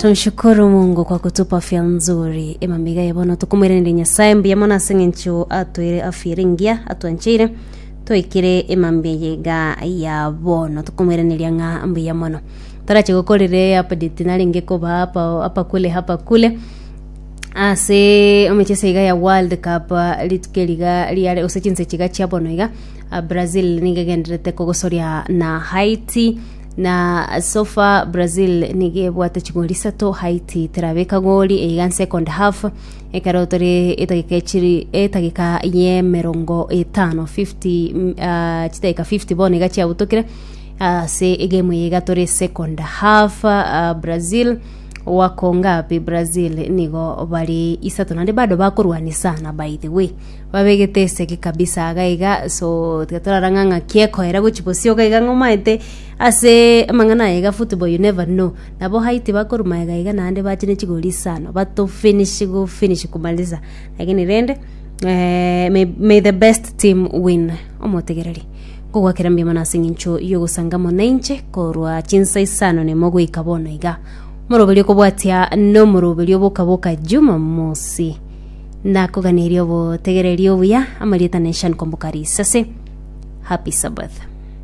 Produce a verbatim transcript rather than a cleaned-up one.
Tumshukuru Mungu kwa kutupa afya nzuri. Emamiga ya bono tukumwiranire Nyasaye mbuya mono ase eng'encho atwere afya ere engiya atwancheire toikire emambia yega ya bono tukumwiraneria ng'a mbuya mono. Torache gokorere update narenge koba hapa hapa kule hapa kule ase emechieso iga ya World Cup ah, rituko eriga riare gose chinse chiga chia bono iga ah, Brazil nigo egenderete kogosoria na Haiti na so far Brazil nigo ebwate chigori isato Haiti terabeka gori eiga second half ekero tore etageka echiri etageka ya emerongo etano fifty mm, ah, chidakika fifty bono iga chiabutokire ase egame eye iga tore second half ah, Brazil wako ngapi Brazil nigo bari isato naende bado bakorwani sana. By the way, babegete esegi kabisa iga iga, so tiga torara ng'a ng'aki ekoera gochi bosio iga iga ng'omaete ase amang'ana aya iga. Football, you never know. Nabo Haiti bakoruma iga iga naende bache ne chigori isano bato finish go finish kumaliza, lakini rende eh, may, may the best team win. Omotegereri nkogwakera mbuya mono ase eng'encho yogosanga mono inche korwa chinsa isano nemo goika bono iga. Omoroberio okobwatia nomoroberio boka boka Jumamosi. Nakoganeria obotegereri obuya. Amarieta Nation Komboka Risase. Happy Sabbath.